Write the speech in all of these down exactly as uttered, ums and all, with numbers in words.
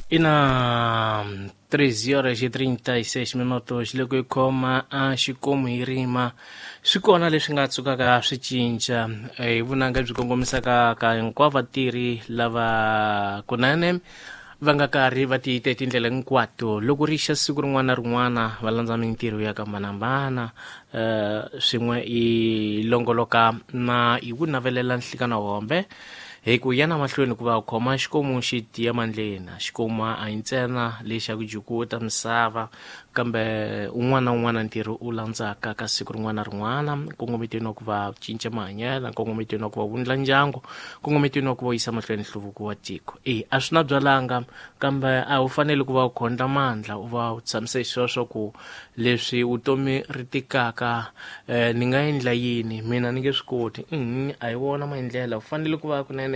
Ina treze horas e trinta e seis minutos loko hi khoma a xikomu hi rima swi kona leswi nga tsukaka swi cinca hi vunanga byi kongomisaka ka hinkwavo vatirhi lava kunene va nga karhi va tiyite tindlela hinkwato loko ri xa siku rin'wana na rin'wana va landza mintirho ya ku hambanahambana um swin'we i longoloka na hi ku navelela nhlikana hombe hi ku ya na mahlweni ku va khoma xikomu xi tiya mandleni. Xikomu a hi ntsena lexi xa ku jukuta misava kambe un'wana na un'wana ntirho u landzaka ka siku rin'wana na rin'wana nkongometweni wa ku va cinca mahanyelo, nkongometweni wa ku va wundla ndyangu, nkongometweni wa ku va yisa mahlweni nhluvuko wa tiko. E a swi na byalanga kambe a wu fanele ku va u khondla mandla u va u tshamise xisweswo ku leswi vutomi ri tikaka eh, ni nga endla yini mina ni nge swi koti. A hi wona maendlelo, u fanele ku va kunene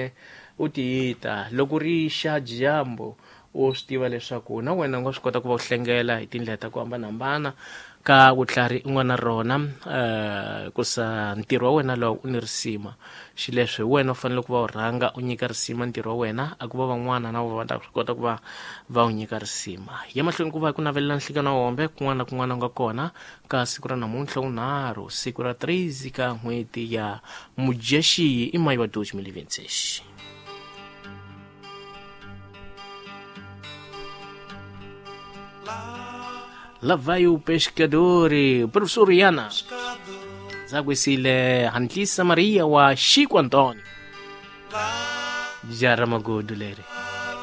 u tiyita loko ri xa dyambu u swi tiva leswaku na wena u nga swi kota ku va u hlengela hi tindlela ta ku hambanahambana ka vutlhari u nga na rona um kusa ntirho wa wena lowu u ni risima. Xileswi hi wena u fanele ku va u rhanga u nyika risima ntirho wa wena a ku va van'wana na vona va ta swi kota ku va va u nyika risima. Ya mahlweni ku va ku navelela nhlikana hombe kun'wana na kun'wana u nga kona ka siku ra namuntlha wunharhu siku ra treze ka n'hweti ya Mudyaxihi i mayi wa dois mil e vinte e seis. Lá vai o pescador, professor Iana. Zaguisile Hantlisa Maria wa Chico Antônio. Jaramagudu leri.